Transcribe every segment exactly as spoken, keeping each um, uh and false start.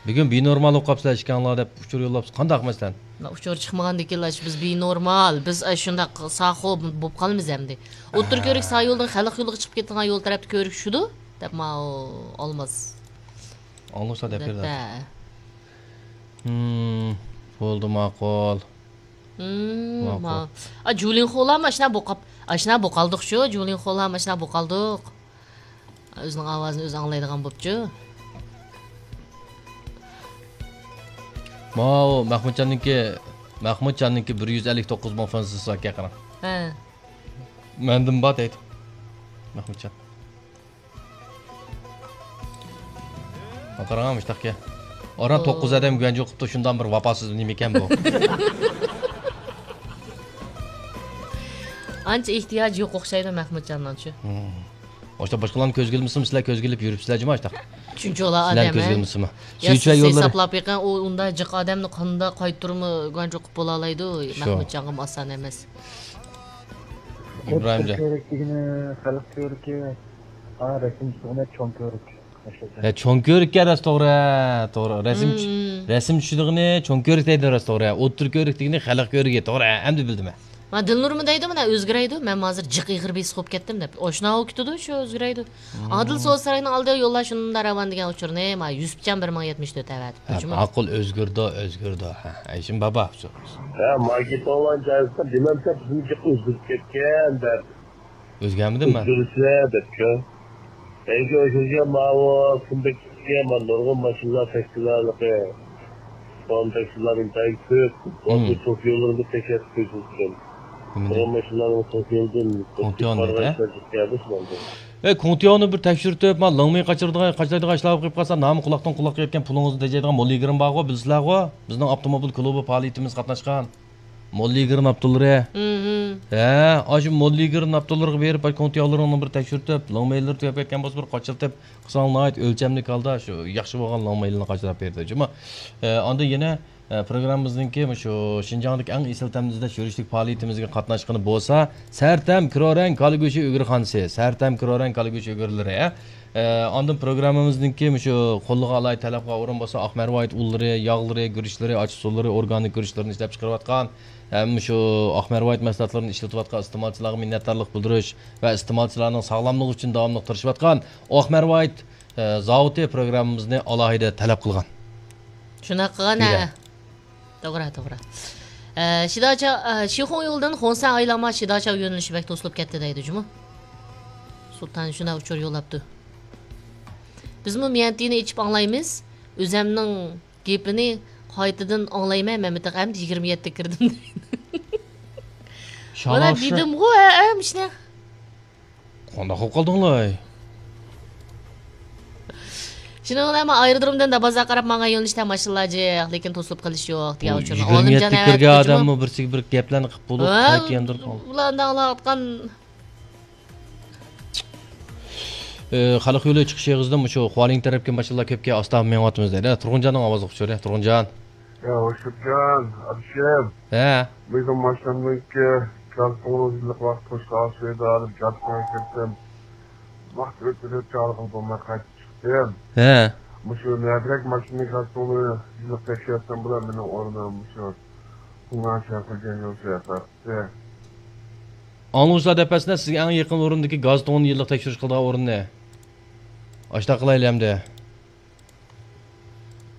بۈگۈن بىنورمال بولۇپ قاپسىلەر ئىككىڭلار دەپ ئۇچۇر يوللاپسىز. قانداق ئەمەسلەن؟ مانا ئۇچۇر چىقمىغاندىكىنلا شۇ بىز بىنورمال، بىز ئاشۇنداق ساخو بولۇپ قالىمىز ئەمدى. ئوتتۇرا كۆۋرۈك سايولدىن خەلق يولىغا چىقىپ كېتىدىغان يول تەرەپتە كۆۋرۈك شۇدۇ دەپ ماۋۇ ئالماس. ئاڭلىسا دەپ بېرىدۇ. ھىم، بولدى، ماقۇل. ھىم، ماقۇل. ما-، ئا، جۇلىن خولام ئاشنا بوقاپ، ئاشنا بوقالدۇقچۇ، جۇلىن خولام ئاشنا بوقالدۇق. ئۆزىنىڭ ئاۋازىنى ئۆزى ئاڭلايدىغان بوپچۇ. ماۋۇ مەخمۇتجاننىڭكى، مەخمۇتجاننىڭكى بىر يۈز ئەللىك توققۇز مىڭ فانسىسى باركەن، قاراڭ. ھە. مەندىن بار دەيدۇ. مەخمۇتجان. قاراڭ، مۇشتاقكەن. ئاران توققۇز ئادەم گۇەنجۇ قىپتۇ، شۇنداق بىر ۋاپاسىز نېمىكەن بۇ؟ ئانچە ئېھتىياجى يوق ئوخشايدۇ مەخمۇتجاننىڭچۇ. ھىم. ئاشتا باشقىلارنى كۆزگە ئىلمىسىمۇ، سىلەر كۆزگە ئىلىپ يۈرۈپسىلەر جۇمۇ ئاشتا. شۇنچىلا ئادەم، كۆزگە ئىلمىسىمۇ. يا، سىز ھېسابلاپ بېقىڭ، ئۇ ئۇنداق جىق ئادەمنى قانداق قايتۇرما گۇەنجۇ قىپ بولالايدۇ؟ شۇ. مەخمۇتجانغىمۇ ئاسان ئەمەس. ئىبراھىمجان. كۆۋرۈك دېگىنى خەلق كۆۋرۈكى. ھا، رەسىم چىزغىنى چوڭ كۆۋرۈك. ھە، چوڭ كۆۋرۈككە راست توغرا، توغرا. رەسىم چۈش-، رەسىم چۈشىدىغىنى چوڭ كۆۋرۈك دەيدۇ، راست توغرا. ئوتتۇرا كۆۋرۈك دېگىنى خەلق كۆۋرۈكى، توغرا. ئەمدى بىلدىم مەن. ما دىلنۇرمۇ دەيدۇ، مانا ئۆزگىرەيدۇ، مەن ھازىر جىق ئېغىر بېسىق بولۇپ كەتتىم دەپ. ئاشۇنداق بولۇپ كېتىدۇ شۇ ئۆزگىرەيدۇ. ئادىل سودا ساراينىڭ ئالدىغا يوللار شۇنداق راۋان دېگەن ئۇچۇرنى، ما يۈسۈپجان بىر مىڭ يەتمىش تۆت ئەۋەتىپتۇ. ھە، جۇمۇ. ماقۇل، ئۆزگىرىدۇ، ئۆزگىرىدۇ. ھە، ئەيشىم بابا ئۇچۇر. ھە، ماگىتولان جايىسىدا دېمەمسە بىزنىڭكى ئۆزگىرىپ كەتكەن دەپ. ئۆزگەرمىدىم مەن. ئۆزگىرىشلەر دەپچۇ. ئەگەر ئۆزگەرگەن ماۋۇ كۈندە كېچىگە مانا نۇرغۇن ماشىنىلار تەكشىلەرلىكى. سوئال تەكشىلەر ئىنتايىن كۆپ. ھىم. بۇ توك يوللىرىدا تەكشۈرۈپ قويسىڭىز ئىكەن. نېمىنى؟ نۇرغۇن ماشىنىلارنىڭ توك يولىدىن كونتيون دەيدۇ، ھە؟ ئۆتۈپ كەلدى شۇنىڭدىن. ئەي، كونتيوننى بىر تەكشۈرتۈپ، ما لىڭمېي قاچىرىدىغان، قاچىلايدىغان ئىشلار بولۇپ قېلىپ قالسا، نامى قۇلاقتىن قۇلاققا يەتكەن پۇلىڭىزنى تېجەيدىغان موللىگىرىم بارغۇ، بىلىسىلەرغۇ، بىزنىڭ ئاپتوموبىل كۇلۇبى پائالىيىتىمىزگە قاتناشقان. موللىگىرىم ئاپتوللىرى. ھە، ئاشۇ موللىگىرىم ئاپتوللىرىغا بېرىپ، ئاشۇ كونتيونلىرىڭنى بىر تەكشۈرتۈپ، لىڭمېيلىرى تۈگەپ كەتكەن بولسا، بىر قاچىلىتىپ قىلساڭ، ناھايىتى ئۆلچەملىك ھالدا شۇ ياخشى بولغان لىڭمېيلىنى قاچىلاپ بېرىدۇ. جۇمۇ، ئە، ئاندىن يەنە، ئە، پروگراممىمىزنىڭكى مۇشۇ شىنجاڭدىكى ئەڭ ئېسىل تەمنى ئىزدەش يۈرۈشلۈك پائالىيىتىمىزگە قاتناشقىنى بولسا، سەرتەم كرورەڭ كالا گۆشى ئۈگرىخانىسى، سەرتەم كرورەڭ كالا گۆشى ئۈگرىلىرى، ئە، ئە، ئاندىن پروگراممىمىزنىڭكى مۇشۇ قوللىغا ئالاھىدە تەلەپكە ئورۇن بولسا، ئاق مەرۋايىت ئۇنلىرى، ياغلىرى، گۈرۈچلىرى، ئاچچىق سۇلىرى، ئورگانىك گۈرۈچلىرىنى ئىشلەپچىقىرىۋاتقان ھەم شۇ ئاق مەرۋايىت مەھسۇلاتلىرىنى ئىشلىتىۋاتقان ئىستېمالچىلارغا مىننەتدارلىق بىلدۈرۈش ۋە ئىستېمالچىلارنىڭ ساغلاملىقى ئۈچۈن داۋاملىق تىرىشىۋاتقان ئاق مەرۋايىت، ئە، زاۋۇتى پروگراممىمىزنى ئالاھىدە تەلەپ قىلغان. شۇنداق قىلغان، ھە. توغرا، توغرا. ئە، شىداچا، ئە، شىخۇڭ يولىدىن خۇڭسەن ئايلانما شىداچا يۆنىلىشى بەك توسۇلۇپ كەتتى دەيدۇ جۇمۇ. سۇلتان شۇنداق ئۇچۇر يوللاپتۇ. بىزمۇ ميەنتىنى ئېچىپ ئاڭلايمىز. ئۆزەمنىڭ گېپىنى قايتىدىن ئاڭلايمەن، مەن بىر تېخى ئەمدى يىگىرمە يەتتە كىردىم دەيدۇ. مانا دېدىمغۇ، ھە، ھە، مۇشۇنى. قانداق قىلىپ قالدىڭلار؟ شۇنىڭ بىلەن مەن ئايرودرومدىن دابازاغا قاراپ ماڭغان يۆنىلىشتە ماشىنىلار جىق، لېكىن توسۇلۇپ قېلىش يوق دېگەن ئۇچۇرنى يىگىرمە يەتتە كىرگەن ئادەممۇ بىرسىگە بىر گەپلەرنى قىلىپ بولۇپ، قايتا ياندۇرۇپ قالدى. بۇلار ئاڭلاۋاتقان ئى، خەلق يولى چىقىش ئېغىزىدىن مۇشۇ خۇالىڭ تەرەپكە ماشىنىلار كۆپكەن، ئاستا مېڭىۋاتىمىز دەيدۇ. تۇرغۇنجاننىڭ ئاۋازلىق ئۇچۇرى، تۇرغۇنجان. يا، ھوشۇپجان، ئابىشىم. ھە. بۈگۈن ماشىنامنىڭكى گاز تۇڭىنى يىللىق ۋاقىت قوشقان سۈيىدە ئېلىپ، گاز تۇڭىغا كىرسەم، ۋاقىت ئۆتۈپ چاغلىقىم بولماي قايتىپ چىقتىم. ھە. مۇشۇ نەدىرەك ماشىنىنى گاز تۇڭىنى يىللىق تەكشۈرسەم بولا، مېنىڭ ئورنۇم مۇشۇ تۇڭگان شەنخۇجيەن يولى. ئاڭلىغۇچىلار دەپ بەرسىنە، سىزگە ئەڭ يېقىن ئورۇندىكى گاز تۇڭىنى يىللىق تەكشۈرۈش قىلىدىغان ئورۇننى. ئاشتا قىلايلى ئەمدى.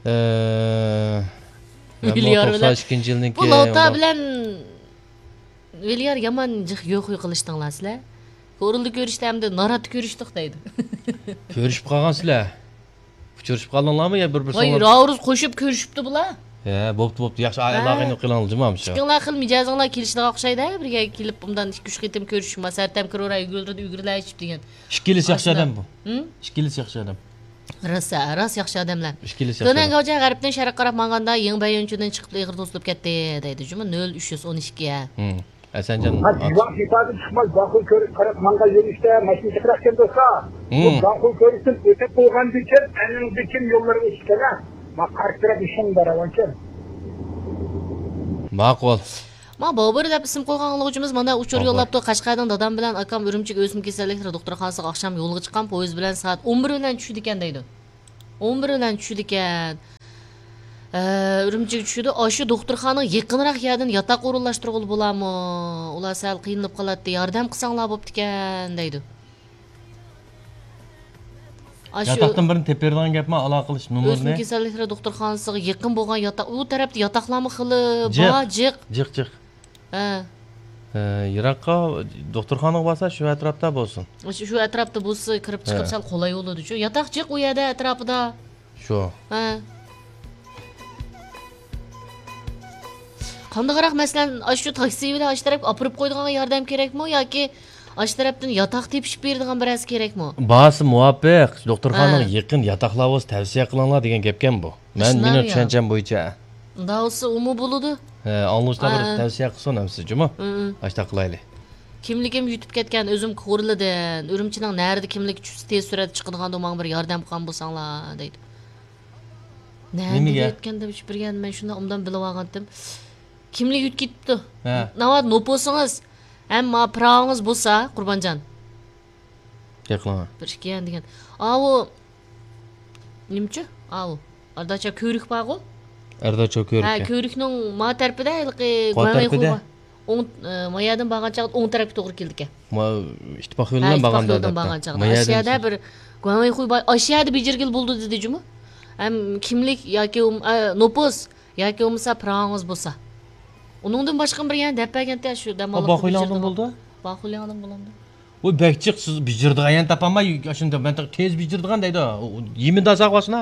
ئە، مەنمۇ ۋىليار بىلەن، توقسان ئىككىنچى يىلنىڭكى بۇ لوتا بىلەن ۋىليار يامان جىق يوخۇي قىلىشتىڭلار سىلەر. كورلىدا كۆرۈشتە ئەمدى ناراتتا كۆرۈشتۇق دەيدۇ. كۆرۈشۈپ قالغان سىلەر. ئۇچرىشىپ قالدىڭلارمۇ يا بىر بىر ۋاي، سوڭ؟ راۋۇرۇز قوشۇپ كۆرۈشۈپتۇ بۇلار. ھە، بوپتۇ، بوپتۇ. ياخشى، ھە. ئالاقىنى قىلىڭلار جۇمۇ شۇ. ئىككىڭلار خىل مىجەزىڭلار كېلىشىدىغان ئوخشايدۇ، بىرگە كېلىپ بۇندان ئىككى ئۈچ قېتىم كۆرۈشۈپ، ما سەرتەم كىرورا يۈگۈرۈپ يۈگۈرلەشىپ دېگەن. ئىككىلىسى ياخشى ئادەم بۇ. ھىم؟ ئىككىلىسى ياخشى ئادەم. راست، راست ياخشى ئادەملەر. ئىككىلىسى ياخشى ئادەم. تۆنەن گاۋجياڭ غەربتىن شەرققە قاراپ ماڭغاندا، يېڭ بەييۈنچۈدىن چىقىپ ئېغىر توسۇلۇپ كەتتى دەيدۇ جۇمۇ، نۆل ئۈچ يۈز ئون ئىككى. ھىم. ھەسەنجان. ھە، دىۋان سىپاتى چىقماي، بانخۇي كۆرۈپ قاراپ ماڭغان يۆنىلىشتە ماشىنا جىقراقكەن دوستلار. بۇ بانخۇي كۆرۈشتىن ئۆتۈپ بولغاندىكىن، ئەنىڭدىكىن يوللار ئېچىقكەن، ھە. ما قارشى تەرەپ ئىشىڭ بار ئەۋەنكەن. ماقۇل. ما بابۇر دەپ ئىسىم قويغان ئاڭلىغۇچىمىز مانا ئۇچۇر يوللاپتۇ. قەشقەردىن دادام بىلەن ئاكام ئۈرۈمچىگە ئۆسمە كېسەللىكلىرى دوختۇرخانىسىغا ئاخشام يولغا چىققان، پويىز بىلەن سائەت ئون بىر بىلەن چۈشىدىكەن دەيدۇ. ئون بىر بىلەن چۈشىدىكەن. ئە، ئۈرۈمچىگە چۈشىدۇ. ئاشۇ دوختۇرخانىغا يېقىنراق يەردىن ياتاق ئورۇنلاشتۇرغىلى بولامۇ؟ ئۇلار سەل قىينىلىپ قالاتتى، ياردەم قىلساڭلار بوپتىكەن، دەيدۇ. ئاشۇ ياتاقتىن بىرنى تېپىپ بېرىدىغان گەپمۇ، ئالاقە قىلىش نومۇرىنى. ئۆسمە كېسەللىكلىرى دوختۇرخانىسىغا يېقىن بولغان ياتاق، ئۇ تەرەپتە ياتاقلارمۇ خېلى جىق، بار، جىق. جىق، جىق. ھە. ھە، يىراققا دوختۇرخانىغا بارسا، شۇ ئەتراپتا بولسۇن. شۇ، شۇ ئەتراپتا بولسا، كىرىپ چىقىپ ھە. سەل قولاي بولىدۇ شۇ. ياتاق جىق ئۇ يەردە ئەتراپىدا. شۇ. ھە. قانداقراق، مەسىلەن، ئاشۇ تاكسى بىلەن ئاشۇ تەرەپكە ئاپىرىپ قويىدىغان ياردەم كېرەكمۇ ياكى ئاشۇ تەرەپتىن ياتاق تېپىشىپ بېرىدىغان بىرەرسى كېرەكمۇ؟ بارسا مۇۋاپىق، دوختۇرخانىغا ھە. يېقىن ياتاقلار بولسا تەۋسىيە قىلىڭلار دېگەن گەپكەن بۇ. مەن، ئاشۇنداق مېنىڭ يا. چۈشەنچەم بويىچە. ئۇنداق بولسا ئۇمۇ بولىدۇ. ھە، ئاڭلىغۇچىلار بىر ھە. تەۋسىيە قىلسۇن ئەمسە جۇمۇ. ھە، ھە. ئاشۇنداق قىلايلى. كىملىكىم يىتىپ كەتكەن، ئۆزۈم كورلىدىم. ئۈرۈمچىنىڭ نەرىدە كىملىك چۈشسە تېز سۈرئەتتە چىقىدىغاندۇ، ماڭا بىر ياردەم قىلغان بولساڭلار، دەيدۇ. نەدە نېمىگە؟ يەتكەن دەپ چۈشۈپ بەرگەن، مەن شۇنداق ئوبدان بىلىۋالغانتىم. كىملىك يىتىپ كېتىپتۇ. ھە. ناۋادا نوپۇسىڭىز ھەم ما پىراۋىڭىز بولسا، قۇربانجان. گەپ قىلىڭا. بىر ئىككى يەنە دېگەن. ئاۋۇ نېمىچۇ؟ ئاۋۇ ئەرداچا كۆۋرۈك بارغۇ؟ ئەرداچا كۆۋرۈكى. ھە، كۆۋرۈكنىڭ ما تەرىپىدە ھېلىقى قاي گۇەنۋېي تەرىپىدە؟ خۇي بار. ئوڭ، ئە، ما يەردىن بارغان چاغدا ئوڭ تەرەپكە توغرا كېلىدىكەن. ما ئىتتىپاق ھە، يولىدىن ئىتتىپاق بارغاندا يولىدىن ئەلۋەتتە. بارغان چاغدا. ما ئاشۇ يەردىن يەردە بىر گۇەنۋېي خۇي بار. ئاشۇ يەردە بېجىرگىلى بولىدۇ دېدى جۇمۇ. ھەم كىملىك ياكى بولم-، ئە، نوپۇس ياكى بولمىسا پىراڭىڭىز بولسا. ئۇنىڭدىن باشقا بىر يەنە دەپ بەرگەنتى شۇ دەم ئا، ئاللىققا باخۇيلاڭدىن بېجىرىدىغان. بولدى؟ باخۇيلاڭدىن بولامدۇ؟ ۋوي، بەك جىق، سىز بېجىرىدىغان يەرنى تاپالماي، ئاشۇنداق مەن تېخى تېز بېجىرىدىغان دەيدۇ. ئۇ، يېمىندا ساق باسىنا.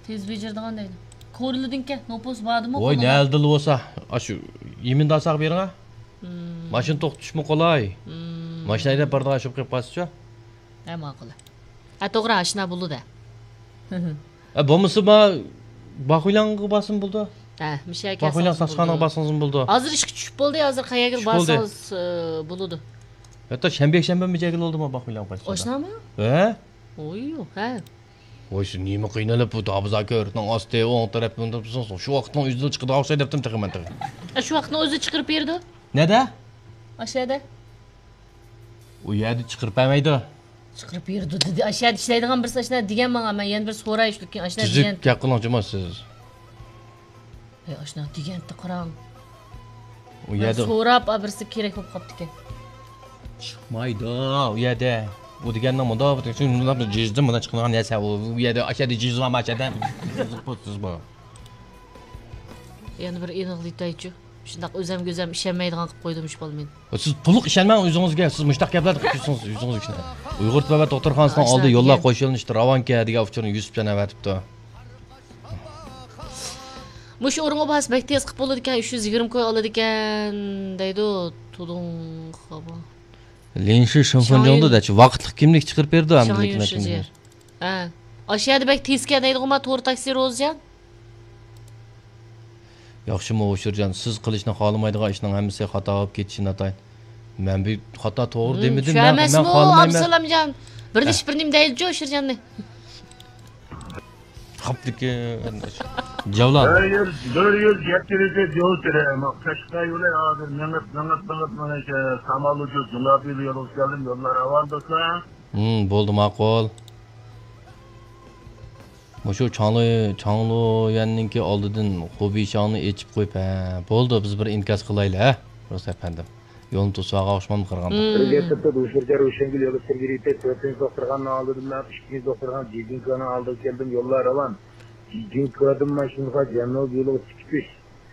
تېز بېجىرىدىغان دەيدۇ. كورلىدىنكەن، نوپۇس باردىمۇ ۋوي، قولىدا؟ نەدىلا بولسا، ئاشۇ يېمىندا ساق بېرىڭا. مم. ماشىنا توختىتىشمۇ قولاي. مم. ماشىنا ھەيدەپ بارىدىغان شۇ قېلىپ قالسىچۇ. ھە، ماقۇل. ھە، توغرا، ئاشنا بولىدۇ. ھە، بولمىسا ما باخۇيلاڭغا بارسىمۇ بولىدۇ. ھە، مۇشۇ يەرگە باخۇيلاڭ ساسخانىغا بارسىڭىزمۇ بولىدۇ. ھازىر ئىشقا چۈشۈپ بولدى، ھازىر قەيەرگە بارسىڭىز، ئە، بولىدۇ. ھەتتا شەنبە، يەكشەنبە مىجەگىلى بولدىمۇ باخۇيلاڭ قايسى؟ ئاشنامۇ؟ ھە؟ ئوي، ھە. ۋاي، سىز نېمە قىينىلىپ بۇ دابىزا كۆۋرۈكنىڭ ئاستى، ئوڭ تەرەپتىن تۇرۇپسىز؟ شۇ ۋاقىتنىڭ ئۆزىدە چىقىدىغان ئوخشايدۇ دەپتىم تېخى مەن تېخى. ئە، شۇ ۋاقىتنىڭ ئۆزىدە چىقىرىپ بېرىدۇ. نەدە؟ ئاشۇ يەردە. ئۇ يەردە چىقىرىپ بەرمەيدۇ. چىقىرىپ بېرىدۇ دېدى. ئاشۇ يەردە ئىشلەيدىغان بىرسى ئاشۇنداق دېگەن ماڭا. مەن يەنە بىر سوراي شۇ كېيىن ئاشۇنداق دېگەن. تۈزۈك گەپ قىلىڭ جۇمۇ سىز. ھەي، ئاشۇنداق دېگەنتى قاراڭ. ئۇ مەن يەردە سوراپ، ئا، بىرسى كېرەك بولۇپ قاپتىكەن. چىقمايدۇ ئۇ يەردە. ئۇ دېگەننىڭ مۇنداق، شۇنداق جىزدىن مۇنداق چىقىدىغان نەرسە. ئۇ، ئۇ يەردە، ئاشۇ يەردە جىز بارمۇ، ئاشۇ يەردە؟ سىز بۇ. يەنە بىر ئېنىقلىتايچۇ. شۇنداق ئۆزەمگە ئۆزەم ئىشەنمەيدىغان قىلىپ قويدۇم شۇ بالا مېنى. سىز تولۇق ئىشەنمەڭ ئۆزىڭىزگە. سىز مۇشۇنداق گەپلەرنى قىلىپ يۈرسىڭىز ئۆزىڭىز ئۈچۈن. ئۇيغۇر تىلى ۋە دوختۇرخانىسىنىڭ ئاشۇنداق ئالدى يوللار دېگەن. قوش يۆنىلىشتە راۋانكەن دېگەن ئۇچۇرنى يۈسۈپجان ئەۋەتىپتۇ. مۇشۇ ئورۇنغا بارسا بەك تېز قىلىپ بولىدىكەن، ئۈچ يۈز يىگىرمە كوي ئالىدىكەن دەيدۇ. تۇدۇڭ خابا. لىنشى شىنفېنجۇڭدا دەچ ۋاقىتلىق كىملىك چىقىرىپ بېرىدۇ، ھەمدىلىك شاڭيۈن مەكىنىسى. شىجيې. ھە. ئاشۇ يەردە بەك تېزكەن دەيدىغۇ ما تور تاكسى روزىجان. ياخشىمۇ ئۇشۇرجان، سىز قىلىشنى خالىمايدىغان ئىشنىڭ ھەممىسى خاتا بولۇپ كېتىشى ناتايىن. مەن بۇ خاتا توغرا دېمىدىم، شۇ مەن، مەن ئەمەسمۇ، خالىمايمەن. ئابدۇسالامجان؟ بىر دېيىش بىر نېمە دەيدىچۇ ئۇشۇرجاننى. خاپتىكى جاۋلار. بىر يۈز، بىر يۈز يەتتە ۋىدىيو جوز تېرە. قەشقەر يولى ھازىر مېڭىپ، مېڭىپ، مېڭىپ، مانا شۇ سامال ئۇچۇپ، جۇڭگاپىل يولىغا كەلدىم. يوللار راۋان دوستلار. ھىم، بولدى، ماقۇل. مۇشۇ چاڭلۇ، چاڭلۇيۈەننىڭكى ئالدىدىن خۇبىشاڭنى ئېچىپ قويۇپ، ھە، بولدى، بىز بىر ئىنكاس قىلايلى، ھە، رۇس ئەپەندىم. يولنى توسۇۋالغان ئوخشىمامدۇ قارىغاندا؟ مم. بىرگە سىرتتا دۇشىرجار روشەنگۈل يولى سىرگىرىتى تۆتىنچى دوختۇرخانىنىڭ ئالدىدىن مەن ئىككىنچى دوختۇرخانا جىجىنكونىڭ ئالدىغا كەلدىم، يوللار راۋان. جىجىنكودىن ماشىنىغا جەنۇب يولىغا چىقىپ،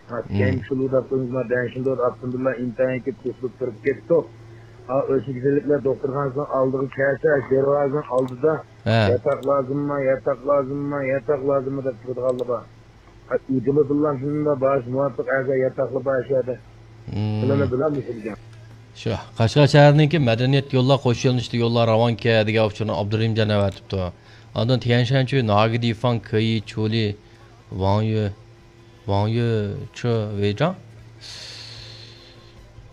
ھا، مم. كەينى شۇلۇ دەپ قويۇڭ، ما دەنشىندوت ئاپتوموبىللار ئىنتايىن كۆپ توسۇلۇپ تۇرۇپ كەتتۇق. ھا، ئۆسمە كېسەللىكلەر دوختۇرخانىسىنىڭ ئالدىغا كەلسە، دەرۋازىنىڭ ئالدىدا ھە. ياتاق لازىممۇ، ياتاق لازىممۇ، ياتاق لازىممۇ دەپ تۇرىدىغانلار بار. ئۇدۇلىدىنلا شۇنداق باش مۇۋاپىق ئەزا ياتاقلار بار شۇ يەردە. مم. بۇلارنى بىلەلمىسىدىكەن. شۇ، قەشقەر شەھىرىنىڭكى مەدەنىيەت يوللار قوش يۆنىلىشتە يوللار راۋانكەن دېگەن ئۇچۇرنى ئابدۇرېھىمجان ئەۋەتىپتۇ. ئاندىن تيەنشەنچۈ، ناگىدىفاڭ، كېيى، چۇلى، ۋاڭيۈ، ۋاڭيۈ چۇ ۋېيجاڭ؟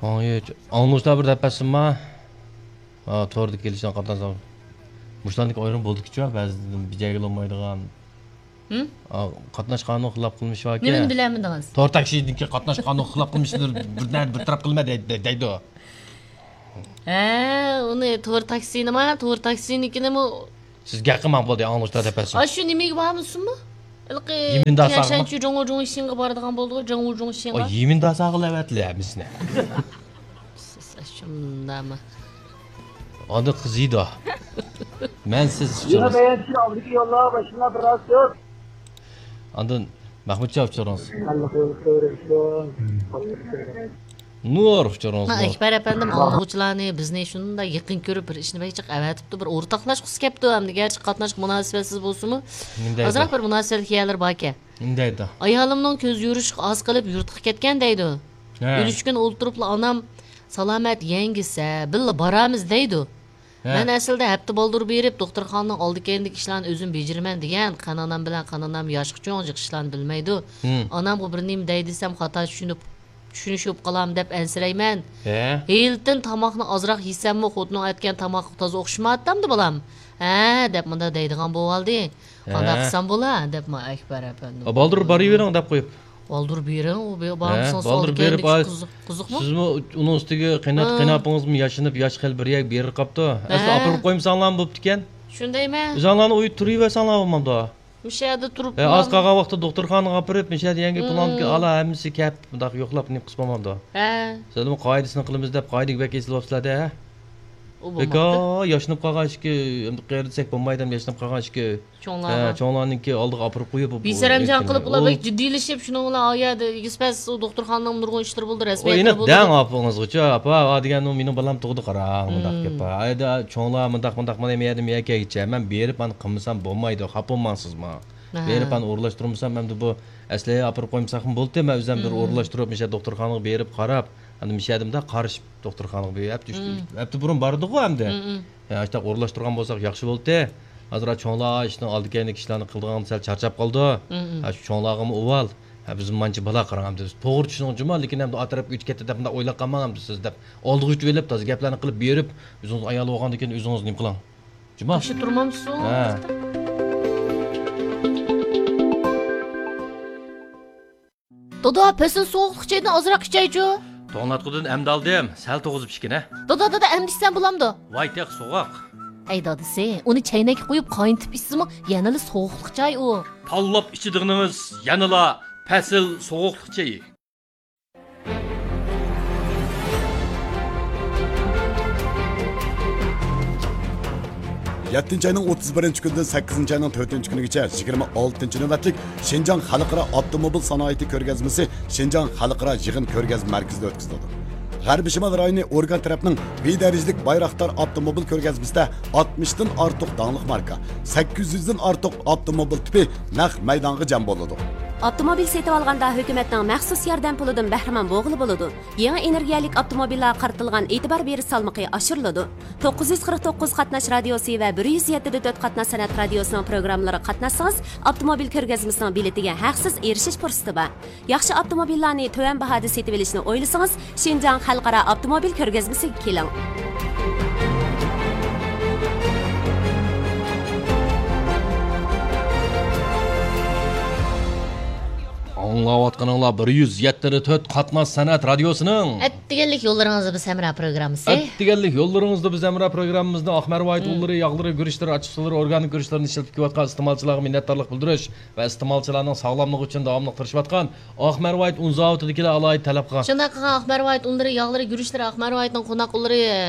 ۋاڭيۈ چۇ، ئاڭلىغۇچىلار بىر دەپ بەرسۇنما؟ ھا، توردا كېلىشىدىغان قاتناش. مۇشۇلاردىكى ئايرىم بولدىكىچۇ، بەزىدىن بىجەگە بولمايدىغان. ھىم؟ ئا، قاتناش قانۇن خىلاپ قىلمىشى باركەن. نېمىنى بىلەلمىدىڭىز؟ تور تاكسىدىكى قاتناش قانۇن خىلاپ قىلمىشىنى بىر، بىر تەرەپ قىلما دەي-، دەي-، دەيدۇ. ھە، ئۇنى تور تاكسىنىما، تور تاكسىنىڭكىنىمۇ. سىز گەپ قىلماڭ، بولدى، ئاڭلىغۇچىلار دەپ بەرسۇن. ئاشۇ نېمىگە بارمىسۇنمۇ؟ ھېلىقى يىمىنداساغىمۇ؟ تيەنشانچى جۇڭۋۇ جۇڭشىنغا بارىدىغان بولدىغۇ، جۇڭۋۇ جۇڭشىنغا. ئۇ يىمىنداساغا لەۋەتلى ھەممىسىنى. شۇنداقمۇ؟ ئاندىن قىزىيدۇ. مەن سىز يەنە ئۇچۇرىڭىز. بەيەنچى ئالدىكى يوللار باشلىنار بىراز كۆپ. ئاندىن مەھمۇتجان ئۇچۇرىڭىز. نۇر ئۇچۇرىڭىز، ھە، نۇر. ئەكبەر ئەپەندىم ئاڭلىغۇچىلارنى، بىزنى شۇنداق يېقىن كۆرۈپ، بىر ئىشنى بەك جىق ئەۋەتىپتۇ، بىر ئورتاقلاشقۇسى كەپتۇ، ھەم گەرچە قاتناشقا مۇناسىۋەتسىز بولسىمۇ، نېمە دەيدۇ؟ ئازراق بىر مۇناسىۋەتلىك يەرلىرى باركەن. نېمە دەيدۇ؟ ئايالىمنىڭ كۆز يورۇشى ئاز قېلىپ يۇرتقا كەتكەن دەيدۇ. ھە. ئۈلۈشكۈن ئولتۇرۇپلا ئانام سالامەت يەڭگىسە بىللە بارامىز دەيدۇ. ھە. مەن ئەسلىدە ھەپتە بالدۇر بېرىپ، دوختۇرخانىنىڭ ئالدى كەينىدىكى ئىشلارنى ئۆزۈم بېجىرىمەن دېگەن. قېيىنئانام بىلەن قېيىنئانام ياشقا چوڭ، جىق ئىشلارنى بىلمەيدۇ. ھىم. ئانامغا بىر نېمە دەي دېسەم، خاتا چۈشىنىپ، چۈشىنىشىپ قالام دەپ ئەنسىرەيمەن. ھە. ھېلىتىن تاماقنى ئازراق يېسەممۇ، خوتۇنۇڭ ئەتكەن تاماققا تازا ئوخشىمايۋاتامدۇ، بالام؟ ھە، دەپ مۇنداق دەيدىغان بولۇۋالدى. ھە. قانداق قىلسام بولا؟ دەپمۇ ئەكبەر ئەپەندىم. ئا، بالدۇر بېرىۋېرىڭ دەپ قويۇپ. بالدۇر بېرىڭ، ئۇ بۇ-، ھە، بالدۇرسىڭىز بالدۇر ئالدى بېرىپ، كەينىدىكى ئا، قىزىق، قىزىقمۇ؟ سىزمۇ ئۇنىڭ ئۈستىگە قېيىنئاتا، ھە. قېيىنئاپىڭىزمۇ ياشىنىپ، ياش خېلى بىر يەرگە بېرىپ قاپتۇ. ئەسلى ھە. ئاپىرىپ قويمىساڭلارمۇ بوپتىكەن. شۇندايمەن. ئۆزۈڭلارنى ئۇيدا تۇرۇۋەرسەڭلار بولمامدۇ؟ مۇشۇ يەردە تۇرۇپ ھە، ئاز قالغان ۋاقىتتا دوختۇرخانىغا ئاپىرىپ، مۇشۇ يەردە يەڭگە ھىم. پىلانكا ئالا ھەممىسى كەپ، مۇنداق يوقلاپ نېمە قىلسا بولمامدۇ؟ ھە. سىلەرمۇ قائىدىسىنى قىلىمىز دەپ قائىدىگە بەك ئېسىلىۋاپسىلەر-دە، ھە؟ ئۇ بولماپتۇ. بەك، ھە، ياشىنىپ قالغان ئىشكى، ئەمدى قېرىدىسەك بولمايدۇ، ياشىنىپ قالغان ئىشكى. چوڭلارغا. ھە، چوڭلارنىڭكى ئالدىغا ئاپىرىپ قويۇپ، بىسەرەمجان قىلىپ، ئۇلار بەك جىددىيلىشىپ، شۇنىڭ بىلەن ئايەدە ئېگىز-پەس، ئۇ دوختۇرخانىنىڭ نۇرغۇن ئىشلىرى بولىدۇ، ئۇ رەسمىيەتلىرى ئېنىق بولىدۇ. دەڭ ئاپىڭىزغىچە، ئاپا، ئا دېگەن، ئۇ مېنىڭ بالام تۇغدى، قاراڭ، مۇنداق گەپ بار. ئايدا چوڭلار مۇنداق، مۇنداق، مانا مەيەردىن مەيەر كەيگىچە، مەن بېرىپ، ئانى قىلمىسام بولمايدۇ، خاپا بولماڭ سىزمۇ. ھە. بېرىپ، ئانى ئورۇنلاشتۇرمىسام، ئەمدى بۇ ئەسلى ئاپىرىپ قويمىساقمۇ بولدى، مەن ئۆزۈم بىر ئورۇنلاشتۇرۇپ، مۇشۇ دوختۇرخانىغا بېرىپ قاراپ، ئەمدى مۇشۇ يەردە مۇنداق قارىشىپ، دوختۇرخانىغا بىر ھەپتە، ئۈچ ھەپتە بۇرۇن باردۇقغۇ ئەمدى. ھە، ئاشۇنداق ئورۇنلاشتۇرغان بولساق ياخشى بولدى. ھازىر چوڭلار ئىشنىڭ ئالدى كەينىدىكى ئىشلارنى قىلىدىغان سەل چارچاپ قالىدۇ. ھە، شۇ چوڭلارغىمۇ ئۇۋال. ھە، بىزمۇ مانچە بالا قاراڭ ئەمدى. توغرا چۈشىنىڭ جۇما، لېكىن ئەمدى ئا تەرەپكە ئۆتۈپ كەتتى دەپ مۇنداق ئويلاپ قالماڭ ئەمدى سىز دەپ. ئالدىغا ئۆتۈۋېلىپ، تازا گەپلەرنى قىلىپ بېرىپ، ئۆزىڭىز ئايال بولغاندىن كېيىن ئۆزىڭىز نېمە قىلىڭ. جۇما. ياخشى تۇرمامسىز؟ ھە. دادا، پەسىل سوغۇقلۇق چېيىدىن ئازراق ئىچەيچۇ. توڭلاتقۇدىن ئەمدى ئالدىم، سەل توغۇزۇپ ئىچكىنە. دادا، دادا، ئەمدى ئىچسەم بولامدۇ؟ ۋاي، تېخى سوغۇق. ئەي دادىسى، ئۇنى چەينەككە قۇيۇپ قاينىتىپ ئىچسىمۇ يەنىلا سوغۇقلۇق چاي ئۇ. تاللاپ ئىچىدىغىنىڭىز يەنىلا پەسىل سوغۇقلۇق چېيى. يەتتىنچى ئاينىڭ ئوتتۇز بىرىنچى كۈنىدىن سەككىزىنچى ئاينىڭ تۆتىنچى كۈنىگىچە يىگىرمە ئالتىنچى نۆۋەتلىك شىنجاڭ خەلقئارا ئاپتوموبىل سانائىتى كۆرگەزمىسى شىنجاڭ خەلقئارا يىغىن كۆرگەزمە مەركىزىدە ئۆتكۈزۈلىدۇ. غەربىي شىمال رايونى ئورگان تەرەپنىڭ بىر دەرىجىلىك بايراقدار ئاپتوموبىل كۆرگەزمىسىدە ئاتمىشتىن ئارتۇق داڭلىق ماركا، سەككىز يۈزدىن ئارتۇق ئاپتوموبىل تىپى نەق مەيدانغا جەم بولىدۇ. ئاپتوموبىل سېتىۋالغاندا ھۆكۈمەتنىڭ مەخسۇس ياردەم پۇلىدىن بەھرىمەن بولغىلى بولىدۇ. يېڭى ئېنېرگىيەلىك ئاپتوموبىللارغا قارىتىلغان ئېتىبار بېرىش سالمىقى ئاشۇرۇلىدۇ. توققۇز يۈز قىرىق توققۇز قاتناش رادىيوسى ۋە بىر يۈز يەتتە دە تۆت قاتناش سەنئەت رادىيوسىنىڭ پروگراممىلىرىغا قاتناشسىڭىز، ئاپتوموبىل كۆرگەزمىسىنىڭ بېلىتىگە ھەقسىز ئېرىشىش پۇرسىتى بار. ياخشى ئاپتوموبىللارنى تۆۋەن باھادا سېتىۋېلىشنى ئويلىسىڭىز، شىنجاڭ خەلقئارا ئاپتوموبىل كۆرگەزمىسىگە كېلىڭ. ئاڭلاۋاتقىنىڭلار بىر يۈز يەتتە دە تۆت قاتناش سەنئەت رادىيوسىنىڭ ئەتىگەنلىك يوللىرىڭىزدا بىز ھەمراھ پروگراممىسى. ئەتىگەنلىك يوللىرىڭىزدا بىز ھەمراھ پروگراممىمىزنى ئاق مەرۋايىت ئۇنلىرى، ياغلىرى، گۈرۈچلىرى، ئاچچىقسۇلىرى، ئورگانىك گۈرۈچلىرىنى ئىشلىتىپ كېلىۋاتقان ئىستېمالچىلارغا مىننەتدارلىق بىلدۈرۈش ۋە ئىستېمالچىلارنىڭ ساغلاملىقى ئۈچۈن داۋاملىق تىرىشىۋاتقان ئاق مەرۋايىت ئۇن زاۋۇتىدىكىلەر ئالاھىدە تەلەپ قىلغان. شۇنداق قىلغان ئاق مەرۋايىت ئۇنلىرى، ياغلىرى، گۈرۈچلىرى، ئاق مەرۋايىتنىڭ قوناق ئۇنلىرى، ئە،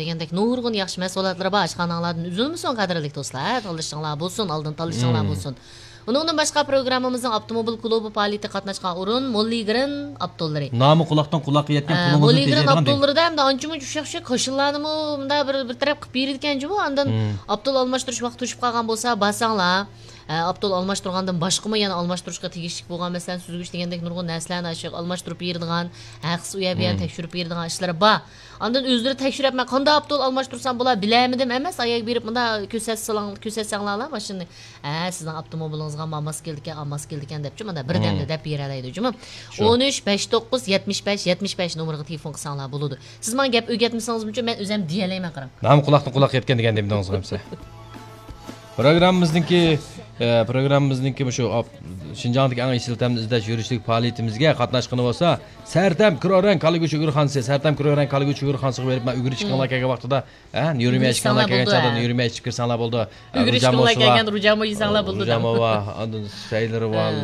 دېگەندەك نۇرغۇن ياخشى مەھسۇلاتلىرى بار. ئاشخاناڭلاردىن ئۈزۈلمىسۇن، قەدىرلىك دوستلار. تاللىشىڭلار بولسۇن، ئالدىن تاللىشىڭلار بولسۇن. ئۇنىڭدىن باشقا، پروگراممىمىزنىڭ ئاپتوموبىل كلۇبى پائالىيىتىگە قاتناشقان ئورۇن موللىگرېن ئاپتوللىرى. نامى قۇلاقتىن قۇلاققا يەتكەن، ئە، پۇلىڭىزنى موللىگرېن تېجەيدىغان دېگەن. ئاپتوللىرىدا ئەمدى ئانچە-مۇنچە ئۇششاق-ئۇششاق كاشىلىلارنىمۇ مۇنداق بىر، بىر تەرەپ قىلىپ بېرىدىكەن جۇمۇ. ئاندىن ئاپتول ئالماشتۇرۇش ۋاقتى توشۇپ قالغان بولسا، بارساڭلار، ئە، ئاپتول ئالماشتۇرغاندىن باشقىمۇ يەنە ئالماشتۇرۇشقا تېگىشلىك بولغان، مەسىلەن، سۈزگۈچ دېگەندەك نۇرغۇن نەرسىلەرنى ئاشۇ ئالماشتۇرۇپ بېرىدىغان، ھەقسىز ئۇ يەر بۇ يەرنى تەكشۈرۈپ بېرىدىغان ئىشلىرى بار. ئاندىن ئۆزلىرى تەكشۈرۈپ، مەن قانداق ئاپتول ئالماشتۇرسام بولا، بىلەلمىدىم ئەمەس، ئاياغ بېرىپ مۇنداق كۆرسەتسىلەڭ-، كۆرسەتسەڭلارلا ماشىنىنى. ھە، سىزنىڭ ئاپتوموبىلىڭىزغا ما ماس كېلىدىكەن، ئا ماس كېلىدىكەن دەپچۇ، مانا بىردەمدە دەپ بېرەلەيدۇ جۇمۇ. شۇ. ئون ئۈچ، بەش توققۇز، يەتمىش بەش، يەتمىش بەش نومۇرىغا تېلېفون قىلساڭلار بولىدۇ. سىز ماڭا گەپ ئۆگەتمىسىڭىزمۇچۇ، مەن ئۆزەم دېيەلەيمەن، قاراڭ. نامى قۇلاقتىن قۇلاققا يەتكەن دېگەن دېمىدىڭىزغۇ ئەمسە. پروگراممىزنىڭكى، ئە، پروگراممىزنىڭكى مۇشۇ ئاپ-، شىنجاڭدىكى ئەڭ ئېسىل تەمنى ئىزدەش يۈرۈشلۈك پائالىيىتىمىزگە قاتناشقىنى بولسا، سەرتەم كرورەڭ كالا گۆشى ئۆگرىخانىسى، سەرتەم كرورەڭ كالا گۆشى ئۆگرىخانىسىغا بېرىپ، مەن ئۆگرىشكىڭلار كەلگەن ۋاقتىدا، ھە، نيۇرميا ئۆگرىشكىڭلار ئىچكىڭلار كەلگەن بولىدۇ، چاغدا ھە. نيۇرميا ئىچىپ كىرسەڭلار بولىدۇ. ئۆگرىشكىڭلار كەلگەن رۇجامۇ يېسەڭلار بولىدۇ. رۇجامۇ بار، ئاندىن سەيلىرى بار، ھە.